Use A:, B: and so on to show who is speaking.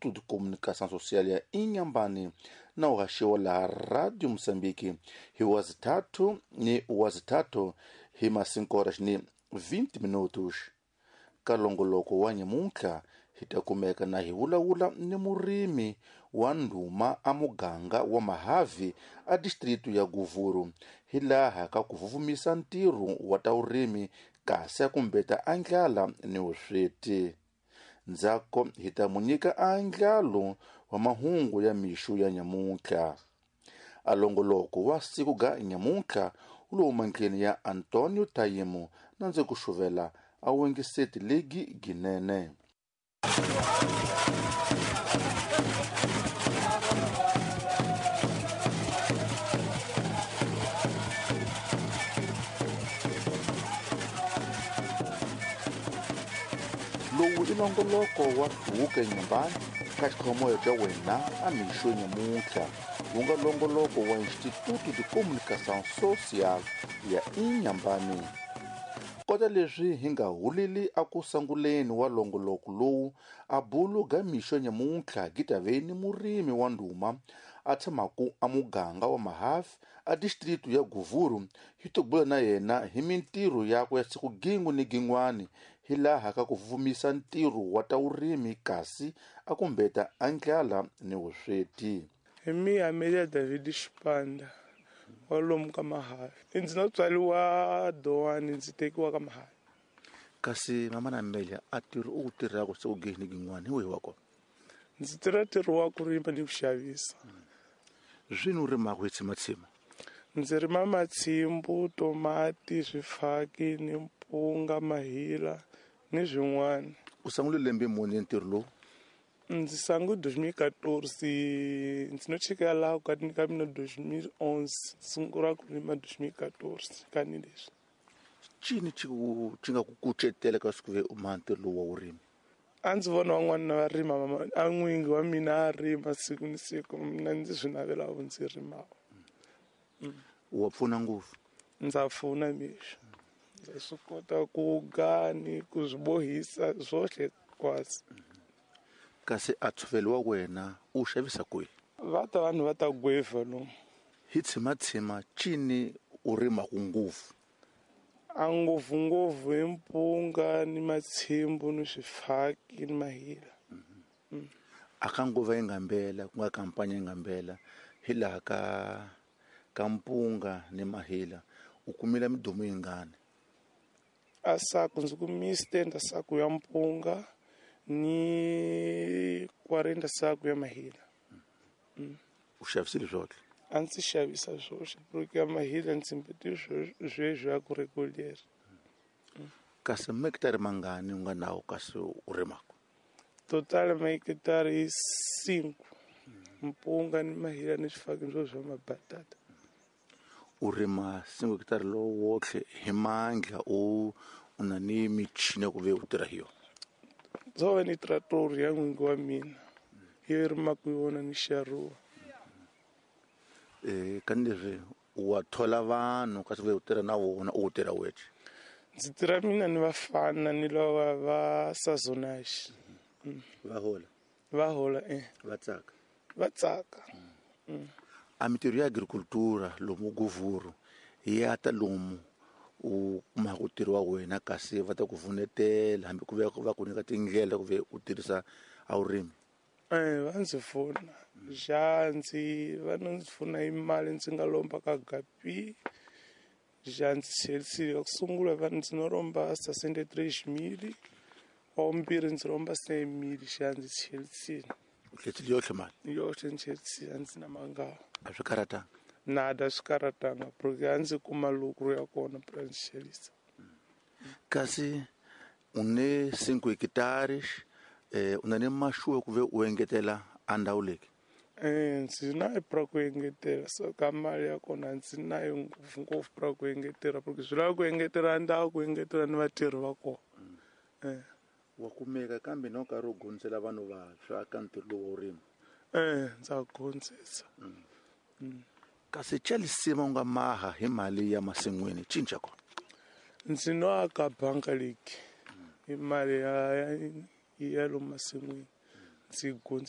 A: De Comunicação Social ya Inhambane na uhaxiwa laha Radio Moçambique hi 3 ni 3 hi ma 5 ni 20 minutos. Ka longoloko wa nyamuntlha hi ta kumeka na hi vulavula ni murimi wa ndhuma a muganga wa Mahavi a distrito ya Guvuru hi laha ka ku vuvumisa ntirho wa ta vurimi kasi a kumbeta a ndlala ni vusweti. Ndzhaku hi ta mu nyika andlalo wa mahungu ya mixo ya nyamuntlha. A longoloko wa siku ga nyamuntlha wu lo huma ndleni ya Antonio Tayimo na ndzi ku xuvela a wengiseti ligi ginene. Lowu i nongoloko wa Hluvuka Nyumbani ka xikhomoyo xa wena a mixo nyamuntlha wu nga longoloko wa Instituto de Comunicação Social ya Inhambane. Kota leswi hi nga huleli a ku sanguleni wa longoloko lowu a bulu ga mixo nyamuntlha gitaveni murimi wa ndhuma a tshamaku a muganga wa Mahavi a distrito ya Guvuru hi to bula na yena hi mintirho yakwe ya siku gin'we ni gin'wani hi laha ka ku vumisa ntirho wa ta vurimi kasi a kumbeta a ndlala ni vusweti.
B: Hi mi Amelia David Xipanda wa lomu ka Mahavi. Ndzi no tswariwa Dowani ndzi tekiwa ka Mahavi.
A: Kasi mama na Amelia a ntirho u wu tirhaka siku gin'we ni gin'wani hi wihi wa kona?
B: Ndzi tirha ntirho wa ku rima ni ku xavisa.
A: Zwini u rimaka hi tshimatsima?
B: Ndzi rima matshimbu, tomati, swifaki ni mpunga, mahila ni swin'wana.
A: U sungule lembe muni ntirho lowu?
B: Ndzi sangu 2014, ndzi no cheka laha ka ka mina 2011, sungula ku rima 2014 ka ni leswi.
A: Cini xi xi nga ku kucetela ka siku ve u ma ntirho lowu wa vurimi?
B: A ndzi vona van'wana va rima mama a n'wingi wa mina a rima siku ni siku mina ndzi swi navela ndzi rimaka.
A: Wa pfuna ngopfu?
B: Ndza pfuna mixo. Ndza swi kota ku ga ni ku swi bohisa swohle kwasi.
A: Kasi a ntshovelo wa wena u xavisa kwihi?
B: Va ta vanhu va ta gweva lomu.
A: Hi tshimatsima cini u rimaka ngopfu?
B: A ngopfungopfu hi mpunga ni matshimbu ni swifaki ni mahila.
A: A ka nguva yi nga mbela ku nga kampanya yi nga mbela hi laha ka mpunga ni mahila u kumile midumu yingani?
B: A saku ndzi kumise 30 saku ya mpunga ni 40 saku ya mahila.
A: U xavisile swohle?
B: A ndzi xavisa swohle porque ya mahila ndzi mbeti sweswo ya ku regular.
A: Kasi mahekitari mangani u nga nawo kasi u rimaka?
B: Total mahekitari i 5. Mpunga ni mahila ni swifaki swo swa mabatata.
A: U rima 5 hekitari lowu wohle hi mandla u na ni michini ya ku ve u tirha hi yona?
B: Ndzo va ni trator ya n'wingi wa mina yi rimaka yona ni xaruwa.
A: Kani leswi wa thola vanhu kasi ve u tirha na vona u tirha wexe?
B: Ndzi tirha mina ni vafana ni lava va sazonaxi.
A: Va hola?
B: Va hola .
A: Va tsaka?
B: Va tsaka.
A: A mintirho ya agricultura lomu Guvuru ya ta lomu u kumaka ntirho wa wena kasi va ta ku vunetela hambi ku ve va ku nyika tindlela ku ve u tirhisa a vurimi?
B: Va ndzi pfuna. Xa ndzi va no ndzi pfuna hi mali ndzi nga lomba ka Gapi. Xa ndzi tlherisile ka ku sungula va ndzi no lomba 63 000, wa vumbirhi ndzi lomba 100 000 xa ndzi tlherisile.
A: U tlherisile yohle mali?
B: Yohle ndzi tlherisile a ndzi na mangava.
A: A swi karatanga?
B: Nada swi karatanga porque a ndzi kuma lucro ya kona pra ndzi xavisa.
A: Kasi u ne 5 hekitares u na ni maxuwa ku ve u engetela a ndhawu leyi?
B: Ndzi na pra ku engetela so ka mali ya kona ndzi nayo ngopfungopfu pra ku engetela porque swi lava ku engetela ndhawu ku engetela ni vatirhi va kona.
A: Wa kumeka kambe na u karhi u gondzela vanhu vantshwa ka ntirho lowu wa vurimi?
B: Ndza gondzisa.
A: Kasi xa lisima u nga maha hi mali ya masin'wini cinca kona?
B: Ndzi no aka banka leyi hi mali ya lomu masin'wini ndzi